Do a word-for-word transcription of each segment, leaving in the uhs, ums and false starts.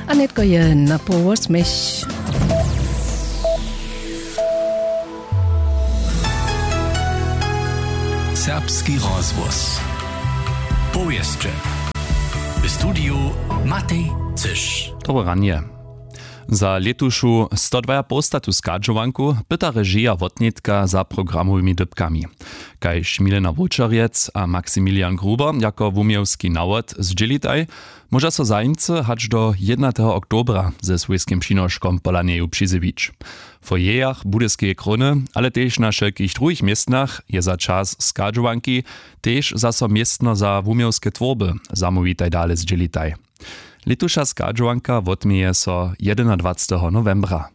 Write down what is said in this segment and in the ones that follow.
A nětko je na połosmjech. Serbski rozhłos. Powěsće. W studiju Matej Cyš. Dobre ranje. Za lětušu stodwajapołstatu schadźowanku pyta režija wotnětka za programowymi dypkami. Kaž Milena Wóčerjec a Maximilian Gruber jako wuměłski nawod zdźělitaj, móža so zajimcy hač do jednateho oktobra ze swójskim přinoškom pola njeju přizjewić. W foyerjach Budyskeje króny, ale tež na wšelkich druhich městnach je za čas schadźowanki tež zaso městno za wuměłske twórby. Zamołwitaj dale zdźělitaj. Lětuša schadźowanka wotměje so jedynadwaceteho nowembra.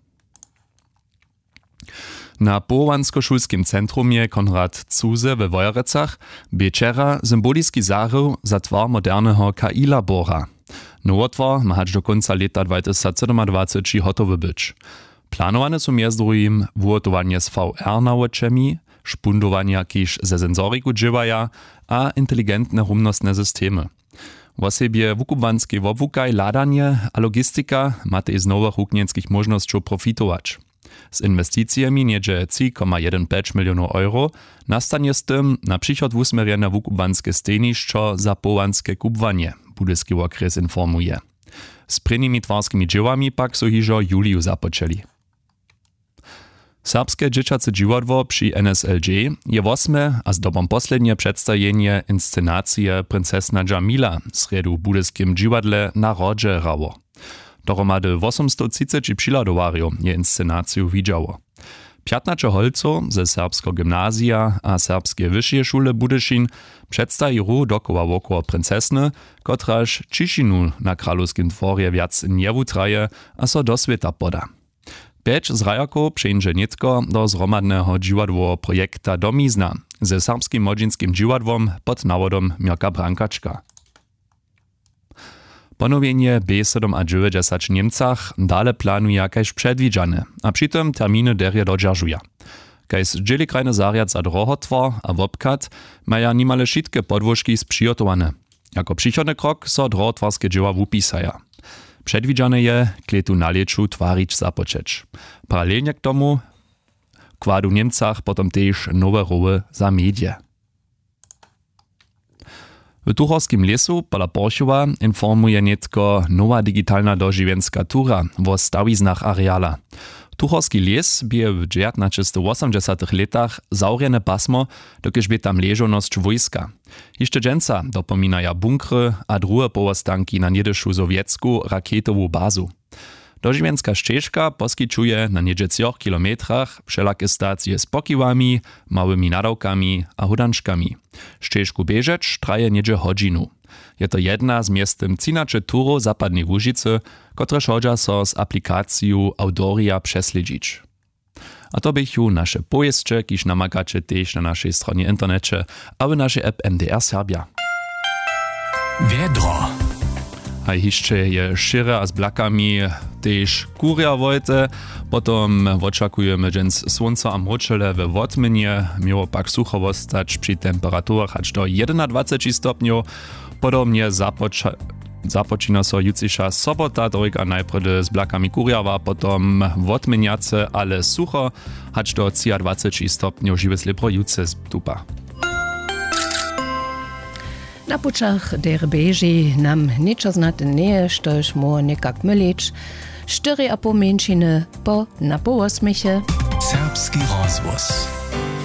Na powołanskošulskim centrumje Konrad Zuse we Wojerecach bě wčera symboliski zahrył za twar moderneho K I-labora. Nowotwar ma hač do kónca lěta dwatysacsydomadwaceći hotowy być. Planowane su mjez druhim wuhotowanje z V R nawočemi, špundowanja, kiž ze sensoriku dźěłaja, a inteligentne rumnostne systemy. Wosebje wukubłanskej wobłukaj, hladanje a logistika matej z nowych wuknjenskich móžnosćow profitować. Z inwesticijemi něhdźe tři koma jedyn pjeć milionow euro nastanje z tym na přichod wusměrjene wukubłanske stejnišćo za powołanske kubłanje, Budyski wokrjes informuje. Z prěnimi twarskimi dźěłami pak su hižo w juliju započeli. Serbske dźěćace dźiwadło při N S L J je wosme a zdobom poslednje předstajenje inscenacije Princesna Džamila w srjedu w budyskim dźiwadle na hrodźe hrało. Dohromady wosomstowtřiceći přihladowarjow je inscenaciju widźało. Pjatnaće holcow ze serbskeho gymnazija a serbskeje wyšeje šule Budyšin předstaji hru dokoła wokoło princesny, kotraž ćišinu na kralowskim dworje wjac njewutraje a so do swěta poda. Pjeć zhrajerkow přeńdźe nětko do zhromadneho dźiwadłoweho projekta Domizna ze serbskim młodźinskim dźiwadłom pod nawodom Měrka Brankačka. Ponowjenje B sydomadźewjećdźesać w Němcach dale planuja kaž předwidźane a při tym terminy derje dodźeržuja. Kaž zdźěli krajny zarjad za drohotwar a wobchad maja nimale wšitke podłožki spřihotowane. Jako přichodny krok so drohotwarske dźěła wupisaja. Předwidźane je, klětu na lěću twarić započeć. Paralelnje k tomu kładu w Němcach potom tež nowe roły za medije. W tuchorskim lěsu pola Porchowa informuje nětko nowa digitalna dožiwjenska tura wo stawiznach areala. Tuchorski lěs bě w dźewjatnaćestowosomdźesatych lětach zawrjene pasmo, dokelž bě tam ležownosć wójska. Hišće dźensa dopominaja bunkry a druhe powostanki na něhdyšu sowjetsku raketowu bazu. Dožiwjenska šćežka poskićuje na něhdźe třoch kilometrach wšelake stacije z pokiwami, małymi nadawkami a hódančkami. Šćežku běžeć traje něhdźe hodźinu. Je to jedna z mjeztym třinaće turow zapadneje łužicy, kotrež hodźa so z aplikaciju Awdorija přeslědźić. A to běchu naše powěsće, kiž namakaće tež na našej stronje w interneće a w našej app M D R Serbja. Wjedro. Haj hišće je šěre a z blakami tež kurjawojte. Potom wočakujemy dźens słónco a mróčele we wotměnje. Měło pak sucho wostać při temperaturach hač do jedynadwaceći stopnjow. Podobnje započa- započina so jutřiša sobota, dwojka najprjedy z blakami kurjawa, potom wotměnjace ale sucho. Hač do třiadwaceći stopnjow žiwe slěbro jutře stupa. Na pućach derje běži nam něčo znate njeje, štož móhło někak mylić. Štyri a poł mjeńšiny po na połosměche. Serbski rozhłos.